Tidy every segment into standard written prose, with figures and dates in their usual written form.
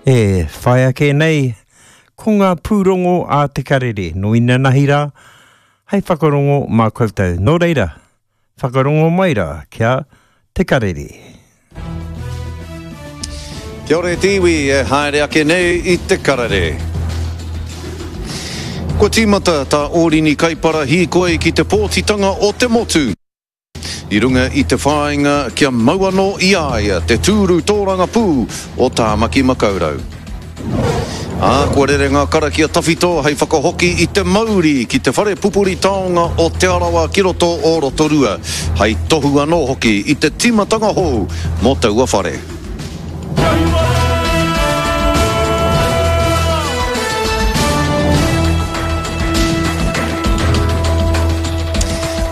E whai ake nei, ko ngā pūrongo a Te Karere nō inanahi rā, hei whakarongo mā koutou. Nō reira, whakarongo mai rā ki a Te Karere. Kia ora e te iwi e haere ake nei i Te Karere. Kua tīmata tā Ōrini Kaipara hīkoi ki te pōtitanga o te motu. I runga i te whāinga kia mau anō i a ia te tūru tōrangapū o Tāmaki Makaurau. Ā, kua rere ngā karakia tawhito hei whakahoki i te mauri ki te whare pupuri taonga o Te Arawa ki roto o Rotorua, hei tohu anō hoki i te tīmatanga hou mō taua whare.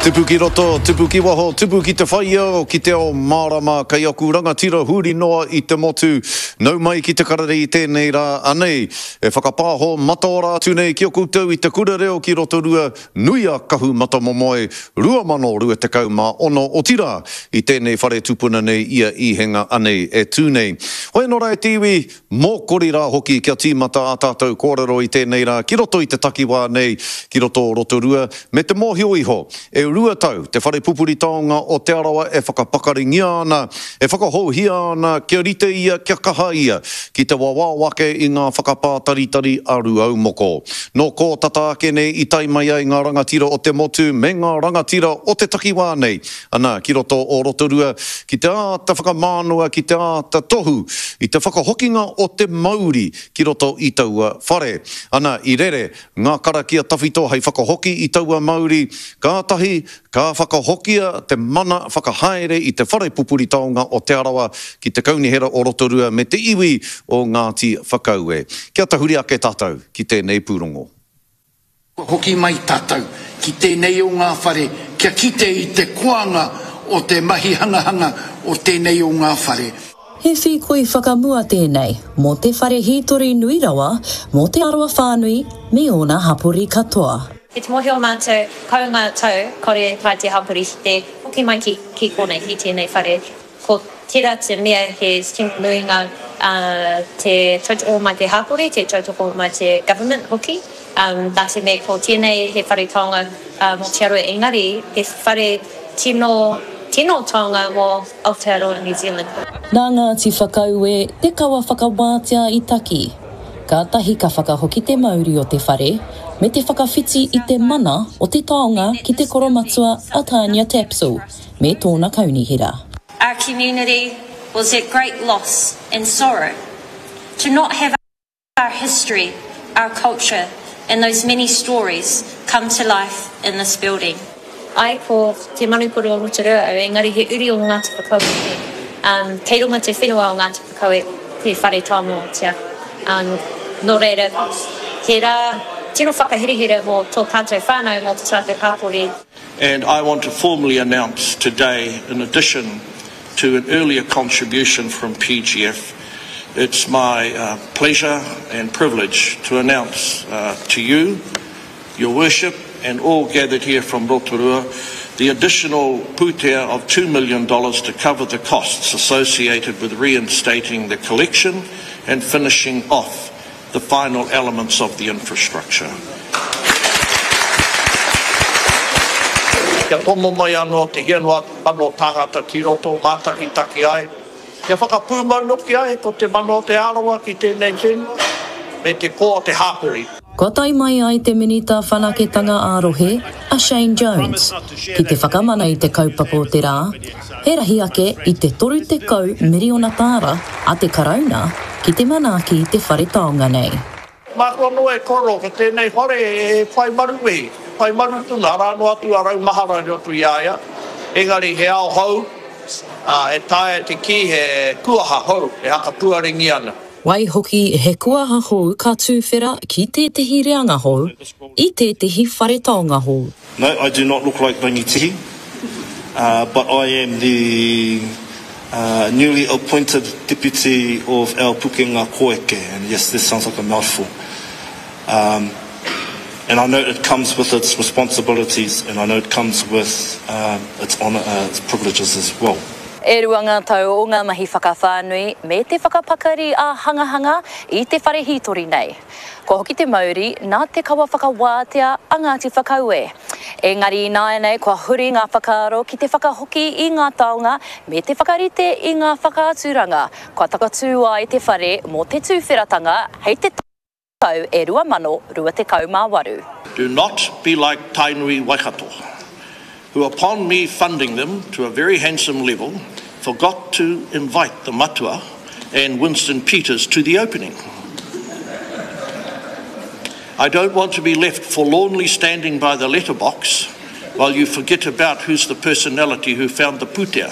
Tupu ki roto, tupu ki waho, tupu ki te whaiao, ki te ao mārama, kei aku rangatira huri noa i te motu. Nau mai ki te karere i tēnei rā, anei, e whakapāho mataora atu nei ki a koutou i te kura reo ki Rotorua, Nui a Kahu Matamomoe, 2026, otirā, i tēnei whare tupuna nei i a Īhenga anei e tū nei. Hoi anō rā e te iwi, mōkori rā hoki kia tīmata ā tātou kōrero i tēnei rā ki roto i te takiwā nei, ki roto o Rotorua, me te mōhio iho, e rua tau te whare pupuri taonga o Te Arawa e whakapakaringia ana, e whakahouhia ana kia rite ia, kia kaha ia ki te wawao ake i ngā whakapātaritari a Rūaumoko. Nō kō tata ake nei i tae mai ai ngā rangatira o te motu me ngā rangatira o te takiwā nei, ana, ki roto o Rotorua, ki te āta whakamānawa, ki te āta tohu i te whakahokinga o te mauri ki roto i taua whare. Ana, i rere ngā karakia tawhito hei whakahoki i taua mauri, kātahi ka whakahokia te mana whakahaere i te whare pupuri taonga o Te Arawa ki te Kaunihera o Rotorua me te iwi o Ngāti Whakaue. Kia tahuri ake tātou ki tēnei pūrongo. Kua hoki mai tātou ki tēnei o ngā whare kia kite i te koanga o te mahi hangahanga o tēnei o ngā whare. He whīkoi whakamua tēnei mō te whare hītori nui rawa mō Te Arawa whānui me ōna hapori katoa. Ki te mōhio mātou, kau ngā tau, kore e tae te hapori ki te hoki mai ki, ki konei, ki tēnei whare. Ko tērā te mea he tino nui ngā, te tautoko mai te hapori, te tautoko mai te government hoki, nā te mea ko tēnei he whare taonga mō Te Arawa engari he whare tino, tino taonga mō Aotearoa New Zealand. Nā Ngāti Whakaue te kawa whakawātea i taki. Kātahi ka whakahoki te mauri o te whare, me te whakawhiti i te mana o te taonga ki te koromatua a Tania Tapsell me tōna kaunihera. Our community was at great loss and sorrow to not have our history, our culture and those many stories come to life in this building. Ae, ko Te Manukoro o Rotorua au, engari he uri o Ngāti Whakaue hoki. Kei runga te whenua o Ngāti Whakaue te whare taonga o Te Awa. Nō reira, he rā tino whakaherehere mō tō tātou whānau, mō tō tātou hapori. And I want to formally announce today, in addition to an earlier contribution from PGF, it's my uh, pleasure and privilege to announce uh, to you, Your Worship, and all gathered here from Rotorua, the additional pūtea of $2 million to cover the costs associated with reinstating the collection and finishing off the final elements of the infrastructure. Kia tomo mai anō te hia noa atu tāngata ki roto mātakitaki ai, kia whakapūmau noki ai ko te mana o Te Arawa ki tēnei whenua me te koa o te hāpori. Kua tae mai ai te Minita Whanaketanga ā-Rohe, a Shane Jones, ki te whakamana i te kaupapa o te rā, he rahi ake i te 30 miriona tāra a te Karauna ki te manaaki i te whare taonga nei. Māku anō e koro ko tēnei whare e whai maru wehi, e whai maru tonu, arā noa atu a Raumahara i roto i a ia, engari he ao hou, ā, e taea te kī he kuaha hou e hakapuarengia ana. Waihoki, he kuaha hou ka tūwhera ki tētehi reanga hou, i tētehi whare taonga hou. No, I do not look like Rangitihi, but I am the newly appointed deputy of our Pukenga Koeke, and yes, this sounds like a mouthful. Um, and I know it comes with its responsibilities, and I know it comes with uh, its, honor, uh, its privileges as well. E rua ngā tau o ngā mahi whakawhānui me te whakapakari ā-hangahanga i te whare hītori nei. Kua hoki te mauri nā te kawa whakawātea a Ngāti Whakaue. Engari ināianei kua huri ngā whakaaro ki te whakahoki i ngā taonga me te whakarite i ngā whakaaturanga kua takatū ai te whare mō te tūwheratanga hei te tau e 2028. Do not be like Tainui Waikato, who upon me funding them to a very handsome level, forgot to invite the matua and Winston Peters to the opening. I don't want to be left forlornly standing by the letterbox while you forget about who's the personality who found the pūtea.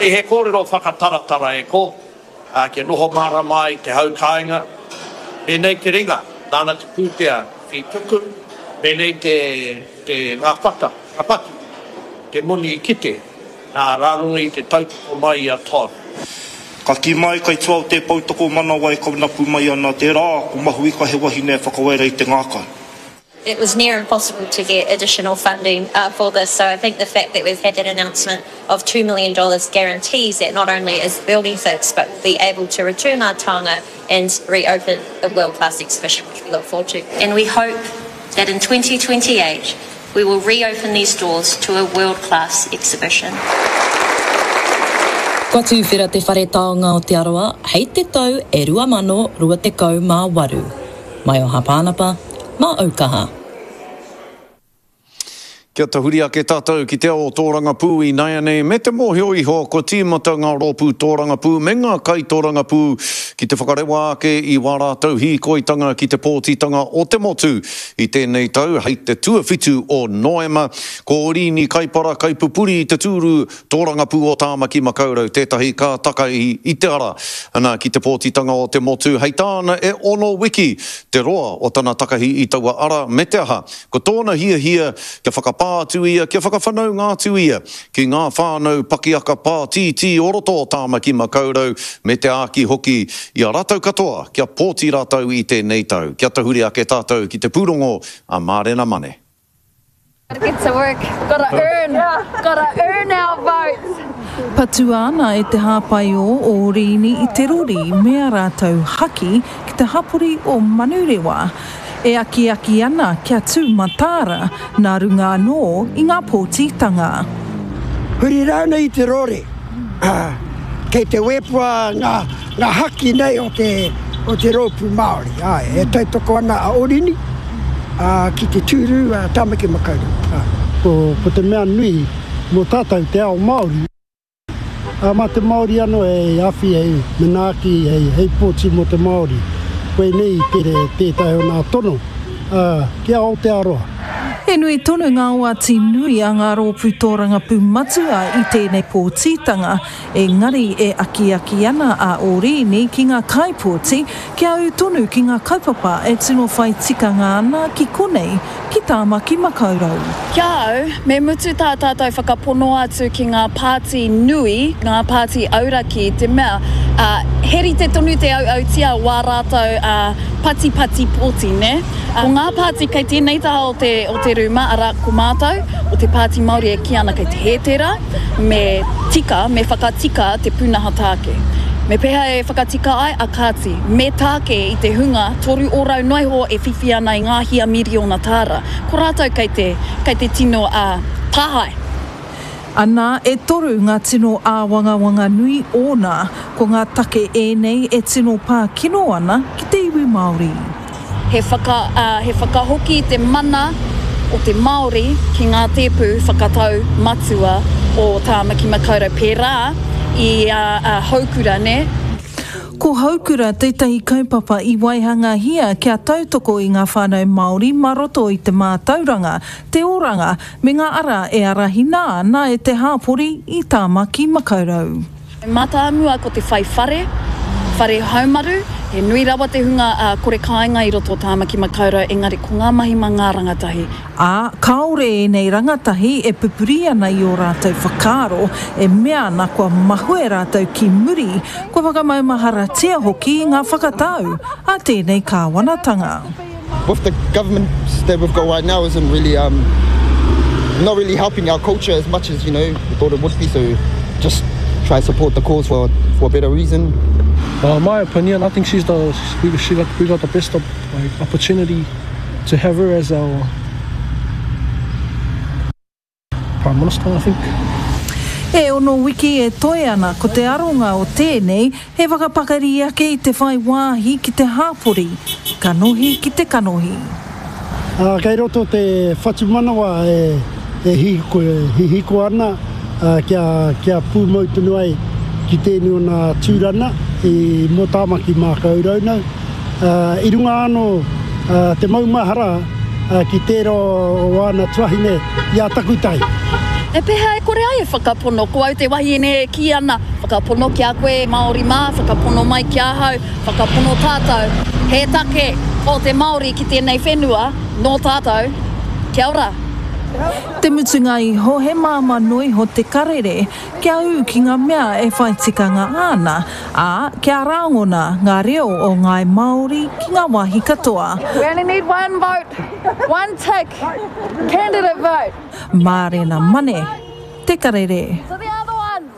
He kōrero whakataratara e ko. ā, kia noho mārama ai te hau kāinga, pēnei te ringa, nāna te pūtea i tuku, pēnei te, te, ngā whata, ngā patu, te moni i kite, nā, rā runga i te tautoko mai i a Todd. Ka kī mai kai tua o tē poutokomanawa e kaunapu mai ana te rā, ko Mahuika he wahine e whakawaera i te ngākau. It was near impossible to get additional funding for this, so I think the fact that we've had that announcement of $2 million guarantees that not only is the building fixed, but we'll be able to return our taonga and reopen a world-class exhibition, which we look forward to. And we hope that in 2028 we will reopen these doors to a world-class exhibition. Kua tuwhera te Whare Taonga o Te Arawa hei te tau e 2028. Mai o Hapānapa, mā Aukaha. Kia tahuri ake tātou ki te ao tōrangapū ināianei me te mōhio iho kua tīmata ngā rōpū tōrangapū me ngā kaitōrangapū ki te whakarewa ake i wā rātou hīkoitanga ki te pōtitanga o te motu i tēnei tau hei te tuawhitu o Noema. Ko Oriini Kaipara kaipupuri i te tūru Tōrangapū o Tāmaki Makaurau tētahi ka takahi i te ara ana ki te pōtitanga o te motu, hei tāna e ono wiki te roa o tana takahi i taua ara me te aha, ko tōna hiahia kia whakapā atu ia, kia whakawhanaunga atu ia ki ngā whānau pakiaka pātītī o roto o Tāmaki Makaurau me te āki hoki i a rātou katoa kia pōti rātou i tēnei tau. Kia tahuri ake tātou ki te pūrongo a Mārena Mane. Gotta get to work, gotta earn, gotta earn our votes. Patua ana e te hāpaiō o Riini i te rori me a rātou haki ki te hapori o Manurewa, e akiaki ana kia tū mataara nā runga anō i ngā pōtitanga. Huri rānei i te rori, kei te wepua ngā haki nei o te o te rōpū Māori. Āe, e tautoko ana a Orini ki te tūru a Tāmaki Makaurau. Āe. Ko te mea nui mō tātou te ao Māori, ā, mā te Māori anō hei awhi, hei manaaki, hei pōti mō te Māori. Koinei tētahi o nā tono ki a Aotearoa. He nui tonu ngā oati nui a ngā rōpū tōrangapū matua i tēnei pōtitanga, Engari e akiaki ana a Orīni ki ngā kaipōti kia ū tonu ki ngā kaupapa e tino whai tikanga ana ki konei, ki Tāmaki Makaurau. Ki a au, me mutu tā tātou whakapono atu ki ngā pāti nui, ngā pāti auraki, i te mea, ā, he rite tonu te auautia o wā rātou, ā, patipati pōti, nē? Ko ngā pāti kei tēnei taha o te, o te rūma, arā, ko mātou, o te Pāti Māori e kī ana kei te hē tērā, Me tika, me whakatika te pūnaha tāke. Me pēhea e whakatika ai? A kāti, me tāke i te hunga 3% noa iho e whiwhi ana i ngā hia miriona tāra. Ko rātou kei te, kei te tino, ā, tāhae. Anā, e toru ngā tino āwangawanga nui ōna, ko ngā take ēnei e tino pā kino ana ki te iwi Māori. He whaka, ā, he whakahoki i te mana o te Māori ki ngā tēpu whakatau matua o Tāmaki Makaurau, pērā i a, a Houkura, nē? Ko Houkura tētahi kaupapa i waihangahia kia tautoko i ngā whānau Māori mā roto i te mātauranga, te oranga, me ngā ara e arahina ana e te hāpori i Tāmaki Makaurau. Mātāmua ko te whai whare, whare haumaru, he nui rawa te hunga kore kāinga i roto o Tāmaki Makaurau engari ko ngā mahi mā ngā rangatahi. Ā, kāore ēnei rangatahi e pupuri ana i ō rātou whakaaro, e mea ana kua mahue rātou ki muri, kua whakamaumaharatia hoki ngā whakatau a tēnei kāwanatanga. With the government that we've got right now isn't really um not really helping our culture as much as you know we thought it would be so. Just try support the cause for, for a better reason. Well, in my opinion, I think she's the we, she got, we got the best like, opportunity to have her as our Prime Minister, I think. E ono wiki e toe ana ko te aronga o tēnei he whakapakari ake i te whai wāhi ki te hāpori, kanohi ki te kanohi. Ā, kei roto te whatumanawa e hihiko ana kia pūmau tonu ai ki tēnei o nā tūrana i mō Tāmaki Mākaurau nau. I runga anō te maumahara ki tērā o āna tuahine i a Takutai. E pēhea e kore ai e whakapono? Ko au te wahine e kī ana, whakapono ki a koe Māori mā, whakapono mai ki ahau, whakapono tātou. He take tō te Māori ki tēnei whenua, nō tātou. Kia ora. Te mutunga iho he māmā noa iho te karere kia ū ki ngā mea e whai tikanga ana, ā, kia rāngona ngā reo o ngāi Māori ki ngā wāhi katoa. We only need one vote, one tick, candidate vote. Mārena Mane, Te Karere. To the other ones.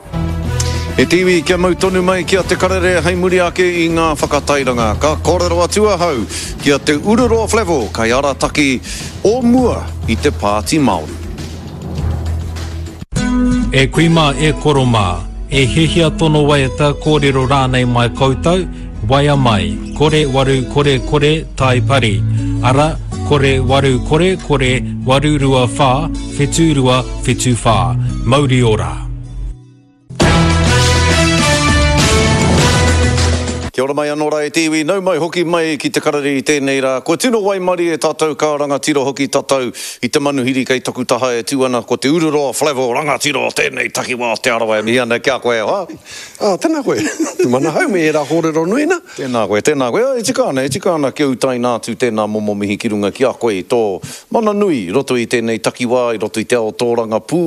E te iwi, kia mau tonu mai ki a Te Karere hei muri ake i ngā whakatairanga. Ka kōrero atu ahau ki a Te Ururoa Flavell, kaiarataki o mua i te Pāti Māori. E kui mā, e koro mā, e hiahia tono waiata, kōrero rānei mai koutou, waea mai, 0800 tai pari, ara, 0800 824 7274. Mauri ora! Kia ora mai anō rā e te iwi, nau mai hoki mai ki te karere i tēnei rā. Kua tino waimarie tātou ka rangatira hoki tatau i te manuhiri kei taku taha e tū ana ko Te Ururoa Flavell rangatira o tēnei takiwā o Te Arawa e mihi ana ki a koe e hoa. Ā, tēnā koe. Te manahau me ērā kōrero nui nā. Tēnā koe, tēnā koe. E tika ana, e tika ana kia utaina atu tēnā momo mihi ki runga ki a koe i tō mana nui i roto i tēnei takiwā, i roto i te ao tōrangapū,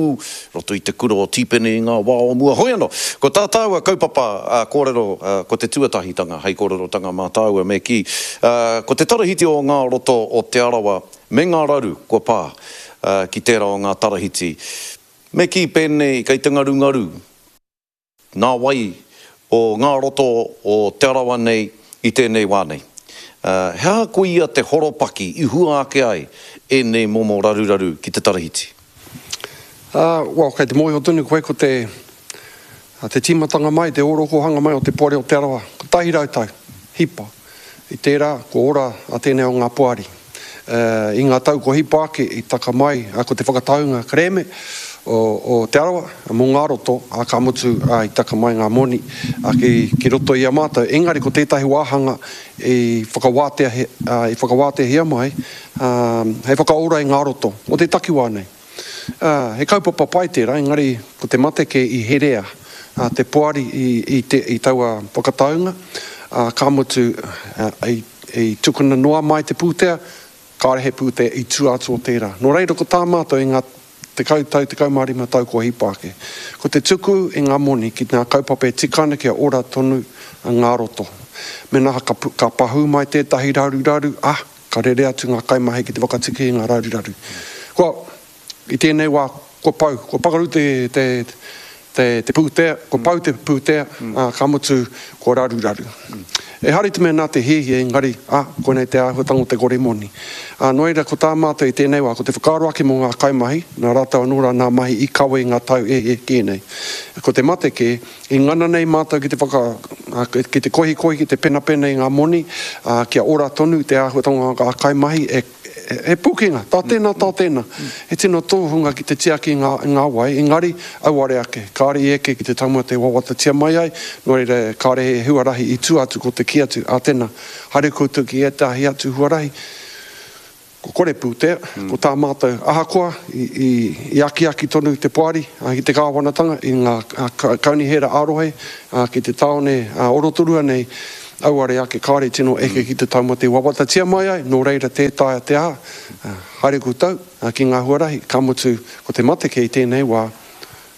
roto i te kura o Tīpene i ngā wā o mua. Hoi anō, ko tā tāua kaupapa kōrero, ko te tuatahitanga hei kōrerotanga mā tāua me kī, ko te tarahiti o ngā roto o Te Arawa me ngā raru kua pā ki tērā o ngā tarahiti. Me kī pēnei kei te ngarungaru Ngā wai o ngā roto o Te Arawa nei i tēnei wā nei. He aha koia te horopaki i hua ake ai ēnei momo raruraru ki te tarahiti? Well, kei te mōhio tonu koe ko te, te tīmatanga mai, te ōrokohanga mai o te Poari o Te Arawa, 100 tau, hipa. I tērā, kua ora a tēnei o ngā poari. I ngā tau kua hipa ake, i taka mai ko te whakataunga kerēme o Te Arawa mō ngā roto, ā, ka mutu i taka mai ngā moni ki roto i a mātou. Engari ko tētahi wāhanga i whakawātea, i whakawāteahia mai hei whakaora i ngā roto o te takiwā nei. Ā, he kaupapa pai tērā, engari ko te mate kē i herea te poari i, te, i taua whakataunga, ā, ka mutu, i, i tukuna noa mai te pūtea, kāore he pūtea i tua atu o tērā. Nō reira, ko tā mātou i ngā tekau tau, 15 tau kua hipa ake, ko te tuku i ngā moni ki ngā kaupapa e tika ana kia ora tonu ngā roto. Mēnā ka, ka pahū mai tētahi raruraru, ā, Ka rere atu ngā kaimahi ki te whakatiki i ngā raruraru. Kua, i tēnei wā, kua pau, kua pakaru te, te, te, te pūtea, kua pau te pūtea, ā, ka mutu, kua raruraru. Ehara i te mea nā te hiahia, engari, ā, koinei te āhuatanga o te kore moni. Ā, nō reira, ko tā mātou i tēnei wā, ko te whakaaro ake mō ngā kaimahi, nā rātou anō rā nā mahi i kawe i ngā tau e hē kē nei. Ko te mate kē, I ngana nei mātou ki te whaka, ki te kohikohi, ki te penapena i ngā moni, ā, kia ora tonu te āhuatanga o ngā kaimahi, e, he pūkenga, tā tēnā, tā tēnā. He tino tōhunga ki te tiaki i ngā, i ngā wai, engari, auare ake, kāore i eke ki te taumata e wawatatia mai ai, nō reira, kāore he huarahi i tua atu ko te kī atu, ā tēnā, haere koutou ki ētahi atu huarahi. Ko kore pūtea, ko tā mātou, ahakoa i akiaki tonu te poari ki te kāwanatanga i ngā kaunihera ā-rohe ki te tāone o Rotorua nei, auare ake kāore i tino eke ki te taumata i wawatatia mai ai, nō reira tē taea te aha, haere koutou ki ngā huarahi, ka mutu ko te mate kē i tēnei wā,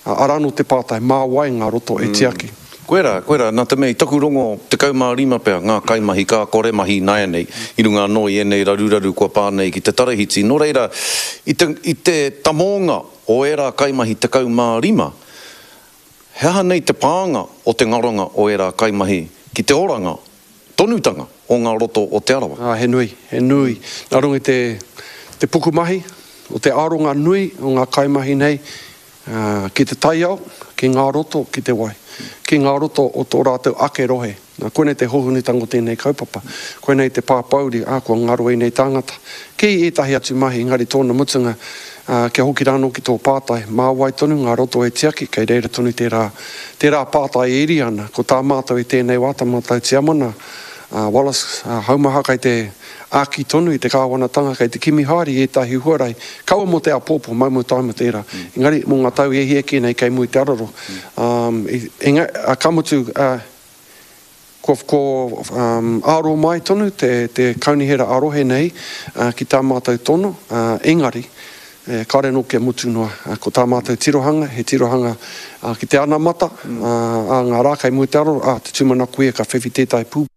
Arā anō te pātai, mā wai ngā roto e tiaki? Koirā, koirā, nā te mea i taku rongo 15 pea ngā kaimahi ka kore mahi ināianei i runga anō i ēnei raruraru kua pā nei ki te tarahiti. Nō reira, i te, i te tamōnga o ērā kaimahi 15, He aha nei te pānga o te ngaronga o ērā kaimahi ki te oranga tonutanga o ngā roto o Te Arawa? Ā, he nui, he nui. Nā runga i te, te pukumahi, o te aronga nui o ngā kaimahi nei, ā, ki te taiao, ki ngā roto, ki te wai, ki ngā roto o tō rātou ake rohe. Nā, koinei te hōhonutanga o tēnei kaupapa. Koinei te pāpōuri, ā, kua ngaro ēnei tāngata. Ki ētahi atu mahi, engari tōna mutunga, ā, kia hoki rānō ki tō pātai, mā wai tonu ngā roto e tiaki, kei reira tonu tērā, tērā pātai e iri ana. Ko tā mātou i tēnei wā, tā mātou tiamana, a Wallace Haumaha kei te āki tonu i te kāwanatanga, kei te kimi haere i ētahi huarahi, kaua mō te āpōpō, maumau taima tērā, engari mō ngā tau e hia kē nei kei mua i te araro. Ā, ka mutu, ā, kua, kua aro mai tonu te, te kaunihera ā-rohe nei ki tā mātou tono, engari, kāore anō kia mutu noa. Ko tā mātou tirohanga, he tirohanga ki te anamata, ā ngā rā kei mua i te araro, ā, te tūmanako ia ka whiwhi tētahi pū.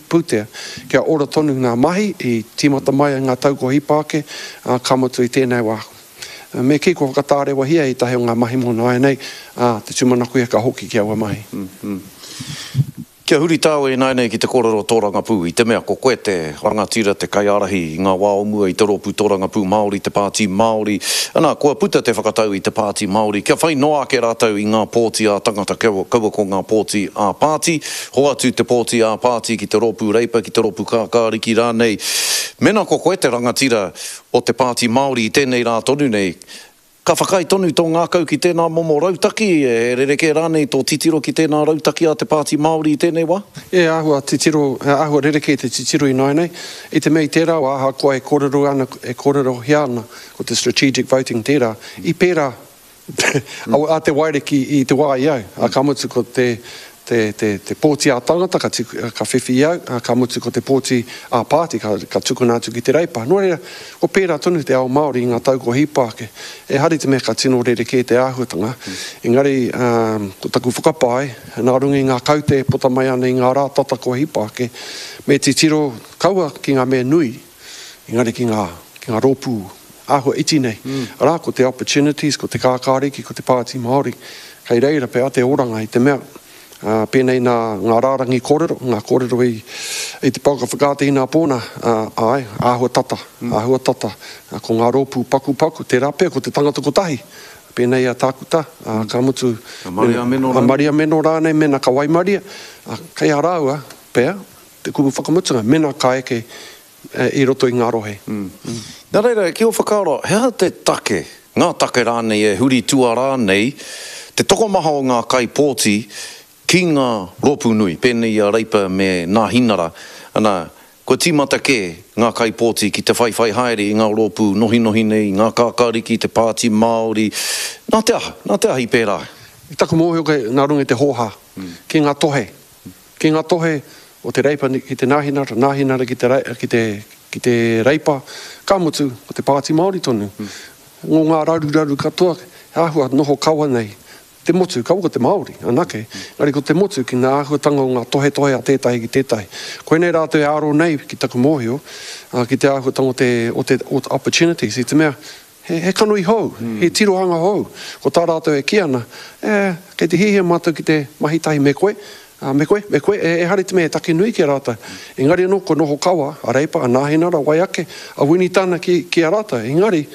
Pūtea, kia ora tonu ngā mahi i tīmata mai ai ngā tau kua hipa ake, ā, ka mutu i tēnei wā. Me kī kua whakatārewahia ētahi o ngā mahi mō nāianei, ā, te tūmanako ia ka hoki ki aua mahi. Kia huri tāua ināianei ki te kōrero tōrangapū, i te mea ko koe te rangatira, te kaiārahi i ngā wā o mua i te Rōpū Tōrangapū Māori, te Pāti Māori. Ana, kua puta te whakatau i te Pāti Māori kia whai noa ake rātou i ngā pōti ā-tangata, kaua ko ngā pōti ā-pāti. Hoatu te pōti ā-pāti ki te Rōpū Reipa, ki te Rōpū Kākāriki rānei. Mēnā ko koe te rangatira o te Pāti Māori i tēnei rā tonu nei, ka whakaae tonu tō ngākau ki tēnā momo rautaki, he rerekē rānei tō titiro ki tēnā rautaki a te Pāti Māori i tēnei wā? E āhua titiro, e āhua rerekē te titiro ināianei, i te mea i tērā wā ahakoa e kōrero ana, e kōrerohia ana ko te strategic voting tērā, i pērā A te Wairiki i te wā i au, a ka mutu ko te, te, te, te pōti ā-tangata ka, ka whiwhi i au, a ka mutu ko te pōti ā-pāti ka, ka tukuna atu ki te Reipa. Nō reira, ko pērā tonu te ao Māori i ngā tau kua hipa ake. Ehara i te mea ka tino rerekē te āhuatanga, engari, ā, ko taku whakapae, nā runga i ngā kaute e puta mai ana i ngā rā tata kua hipa ake, me titiro kaua ki ngā mea nui, Engari ki ngā, ki ngā rōpū āhua iti nei, arā, ko te Opportunities, ko te Kākāriki, ko te Pāti Māori, kei reira pea te oranga i te mea, ā, pēnei nā ngā rārangi kōrero, ngā kōrero i, i te pouaka whakaata inapō nā, ā, āe, āhua tata, āhua tata, ko ngā rōpū pakupaku, tērā pea ko te tangata kotahi, pēnei a Tākuta, ā, ka mutu, A Maria Meno a rānei. Maria Meno rānei mēnā ka waimaria, ā, kei a rāua pea, Te kupu whakamutunga, mena ka eke i roto i ngā rohe. Nā reira, ki ō whakaaro, he aha te take, ngā take rānei e huri tuarā nei te tokomaha o ngā kaipōti ki ngā rōpū nui, pēnei i a Reipa me Nāhinara, ana, kua tīmata kē ngā kaipōti ki te whaiwhai haere i ngā rōpū nohinohi nei, ngā kākāriki, te Pāti Māori, nā te aha, nā te aha i pērā ai? I taku mōhio kei nā runga i te hōhā, ki ngā tohe Ki ngā tohe o te Reipa ki te Nāhinara, Nāhinara ki te, ki te, ki te Reipa, ka mutu, ko te Pāti Māori tonu. Ngō ngā raruraru katoa, he āhua noho kawa nei te motu, kaua ko te Māori anake, engari ko te motu ki ngā āhuatanga o ngā tohetohe a tētahi ki tētahi. Koinei rātou e aro nei, ki taku mōhio, ki te āhuatanga o te, o te, o te opportunities, i te mea, He, he kanohi hou, he tirohanga hou. Ko tā rātou e kī ana, E, kei te hiahia mātou ki te mahi tahi me koe, ā, me koe, me koe, e, ehara i te mea he take nui ki a rātou. Engari anō, kua noho kawa a Reipa, a Nāhinara, wai ake, a Winitana ki, ki a rātou. Engari,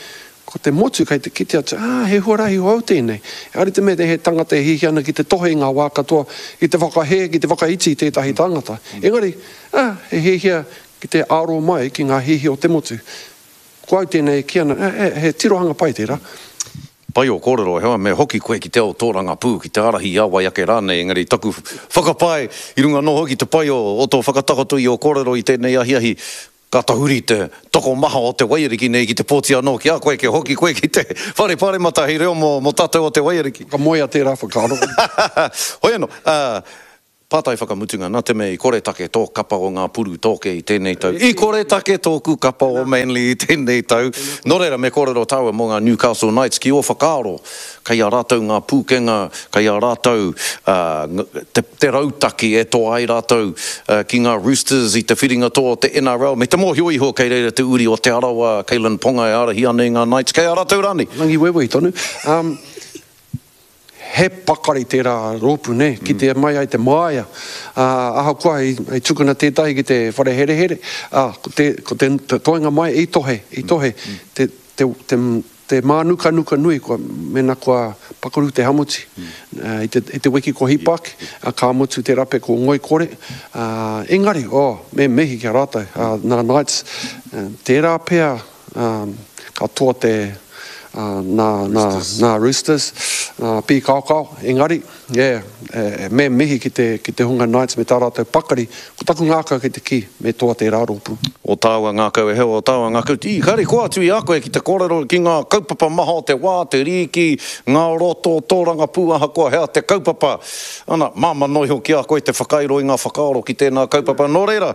ko te motu kei te kite atu, ā, he huarahi hou tēnei. Ehara i te mea he tangata e hiahia ana ki te tohe i ngā wā katoa, ki te whakahē, ki te whakaiti i tētahi tangata. Engari, ā, he hiahia ki te aro mai ki ngā hiahia o te motu. Ko au tēnei e kī ana, e, he tirohanga pai tērā. Pai ō kōrero, heoi me hoki koe ki te ao tōrangapū, ki te ārahi i a wai ake rānei, engari taku whakapae i runga anō hoki te pai o tō whakatakoto i ō kōrero i tēnei ahiahi, ka tahuri te tokomaha o te waiariki nei ki te pōti anō ki a koe, kia hoki koe ki te whare paremata hei reo mō tātou o te waiariki. Ka moea tērā whakaaro. Hoi anō, Pātai whakamutunga, nā te mea i koretake tō kapa o ngā puru tōke i tēnei tau, i koretake tōku kapa o Manly i tēnei tau, nō reira me kōrero tāua mō ngā Newcastle Knights, ki ō whakaaro, kei a rātou ngā pūkenga, kei a rātou te, te rautaki e toa ai rātou ki ngā Roosters i te whiringa toa o te NRL, me te mōhio iho kei reira te uri o Te Arawa, Kalyn Ponga e ārahi ana i ngā Knights, kei a rātou rānei? Rangiwewehi tonu. He pakari tērā rōpū, nē, kitea mai ai te māia, ā, ahakoa i, i tukuna tētahi ki te whare herehere, ā, ko te, ko te toenga mai i tohe, i tohe, te, te, te, te mānukanuka nui kua, mēnā kua pakaru te hamuti, i te, i te wiki kua hipa ake, ā, ka mutu te rape ko ngoikore, ā, engari, oh, me mihi ki a rātou, ā, nā Knights, tērā pea, ā, ka toa te, ā, nā, nā, nā Roosters, nā Pīkaokao, engari, yeah, e, me mihi ki te, ki te hunga Knights me tā rātou pakari, ko taku ngākau kei te kī, me toa tērā rōpū. O tāua ngākau e heo, o tāua ngākau, i kare koa atu i a koe ki te kōrero ki ngā kaupapa maha o te wā, te rīki, ngā roto, tōrangapū, ahakoa hea te kaupapa. Ana, māmā noa iho ki a koe te whakairo i ngā whakaaro ki tēnā kaupapa, nō reira,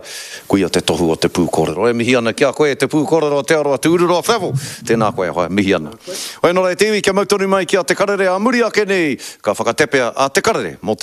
Koia te tohu o te pūkōrero. E mihi ana ki a koe e te pūkōrero o Te Arawa, Te Ururoa Flavell. Tēnā koe e hoa, mihi ana. Hoi anō rā e te iwi, kia mau tonu mai ki a Te Karere ā muri ake nei, ka whakatepea a Te Karere mō te.